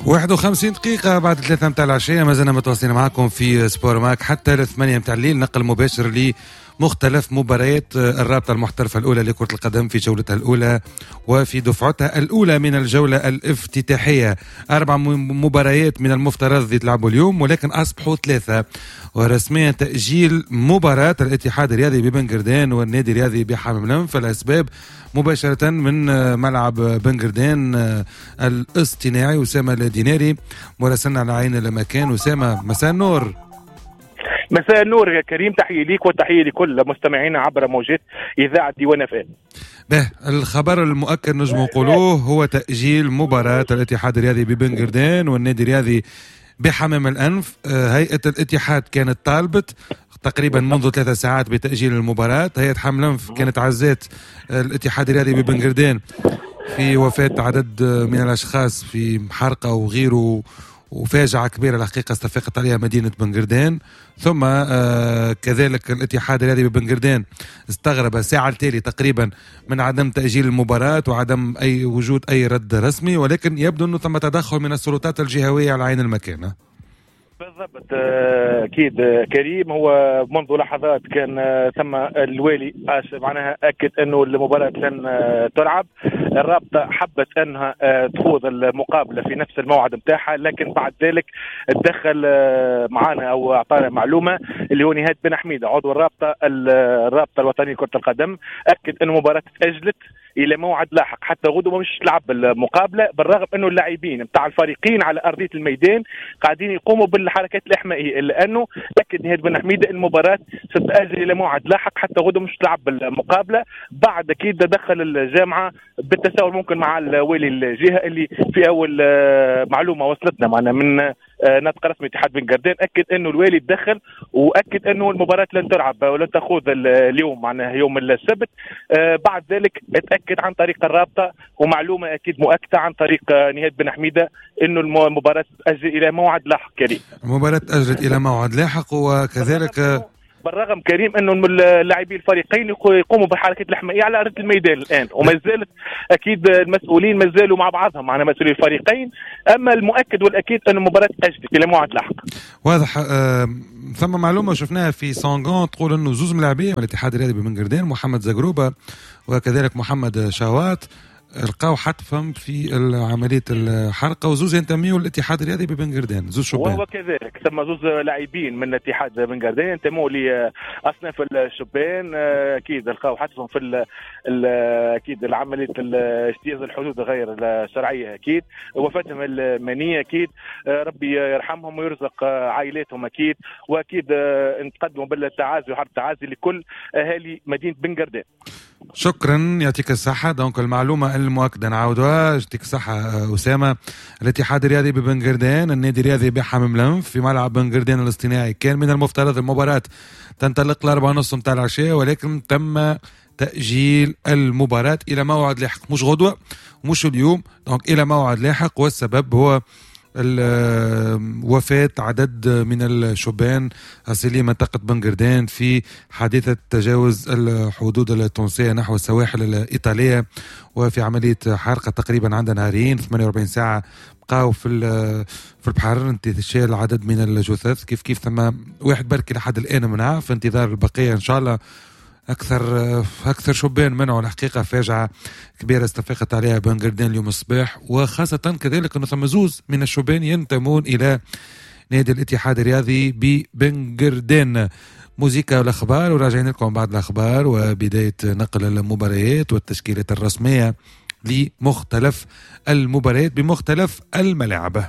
51 دقيقة بعد 3 متاع العشية، ما زلنا متواصلين معكم في سبور ماك حتى 8 متاع الليل، نقل مباشر لمختلف مباريات الرابطة المحترفة الأولى لكرة القدم في جولتها الأولى وفي دفعتها الأولى من الجولة الافتتاحية. 4 مباريات من المفترض يتلعبوا اليوم، ولكن أصبحوا 3، ورسميا تأجيل مباراة الاتحاد الرياضي ببنقردان والنادي الرياضي بحمام الأنف. الأسباب مباشرة من ملعب بنقردان الاصطناعي، أسامة الديناري مراسلنا على عين المكان. أسامة، مساء النور. مساء النور يا كريم، تحية ليك وتحية لكل مستمعينا عبر موجات إذاعة ديوان FM. به الخبر المؤكد نجم نقولوه هو تأجيل مباراة الاتحاد الرياضي ببنقردان والنادي الرياضي بحمام الأنف. هيئة الاتحاد كانت طالبت تقريبا منذ 3 ساعات بتأجيل المباراة. هيئة حمام الأنف كانت عزات الاتحاد الرياضي ببنقردان في وفاة عدد من الأشخاص في حرقة وغيره، وفاجعة كبيرة الحقيقة استفاقت عليها مدينة بنقردان. ثم كذلك الاتحاد الرياضي ببنقردان استغرب ساعة التالي تقريبا من عدم تأجيل المباراة وعدم أي وجود أي رد رسمي، ولكن يبدو أنه ثم تدخل من السلطات الجهوية على عين المكان. بالضبط، اكيد كريم، هو منذ لحظات كان ثم الوالي معناها اكد انه المباراة لن تلعب. الرابطة حبت انها تخوض المقابلة في نفس الموعد نتاعها، لكن بعد ذلك تدخل معنا او اعطانا معلومة اللي هو نهاد بن حميده عضو الرابطه الوطنية لكرة القدم، اكد ان المباراة تاجلت الى موعد لاحق حتى غدوه مش تلعب المقابلة، بالرغم انه اللاعبين نتاع الفريقين على ارضية الميدان قاعدين يقوموا بالحركات الاحمائيه، الا انه اكد نهاد بن حميده المباراة ستتاجل الى موعد لاحق حتى غدوه مش تلعب المقابلة. بعد اكيد تدخل الجامعة بالتساؤل ممكن مع الوالي الجهة اللي في اول معلومة وصلتنا معنا من ناطق رسمي اتحاد بن قردان اكد انه الوالي تدخل واكد انه المباراة لن تلعب ولن تخوض اليوم معناها يوم السبت. بعد ذلك اتاكد عن طريق الرابطة ومعلومه اكيد مؤكدة عن طريق نهاد بن حميده انه المباراة تاجل الى موعد لاحق. كريم، المباراة تاجلت الى موعد لاحق، وكذلك بالرغم كريم انه اللاعبين الفريقين يقوموا بالحركات الاحمائيه على ارض الميدان الان، وما زالت اكيد المسؤولين ما زالوا مع بعضهم معنا مسؤولي الفريقين. اما المؤكد والاكيد ان المباراة تاجلت الى موعد لاحق. واضح. ثم معلومة شفناها في سونغون تقول انه زوز ملاعبين من الاتحاد الرياضي ببنقردان، محمد زقروبه وكذلك محمد شوات، لقاو حتفهم في عملية الحرقة، وزوز ينتميوا للاتحاد الرياضي ببنقردان، زوز شبان. وهو كذلك ثم زوز لاعبين من الاتحاد بنقردان ينتموا لأصناف الشبان، أكيد لقاو حتفهم في أكيد عملية اجتياز الحدود غير الشرعية، أكيد وفاتهم المنية، أكيد ربي يرحمهم ويرزق عائلاتهم، أكيد وأكيد نتقدموا بالتعازي وحرب التعازي لكل أهالي مدينة بنقردان. شكرا، يعطيك الصحة. donc المعلومة المؤكدة نعاودوها، يعطيك الصحة أسامة. الاتحاد الرياضي ببنقردان، النادي الرياضي بحمام الأنف في ملعب بنقردان الاصطناعي، كان من المفترض المباراة تنطلق 4:30 متاع العشاء، ولكن تم تأجيل المباراة إلى موعد لاحق، مش غدوة مش اليوم، donc إلى موعد لاحق، والسبب هو وفاة عدد من الشبان أصيلي منطقة بنقردان في حادثة تجاوز الحدود التونسية نحو السواحل الإيطالية، وفي عملية حرقة تقريبا عندها نهارين 48 ساعة بقاو في البحر، انتشال عدد من الجثث. كيف كيف ثم واحد بركي لحد الآن منع، في انتظار البقية إن شاء الله. أكثر شبان منعوا. الحقيقة فاجعة كبيرة استفاقت عليها بنقردان اليوم الصباح، وخاصة كذلك أنه ثم زوز من الشبان ينتمون إلى نادي الاتحاد الرياضي ببنقردان. موزيكا والأخبار، وراجعين لكم بعد الأخبار وبداية نقل المباريات والتشكيلات الرسمية لمختلف المباريات بمختلف الملاعب.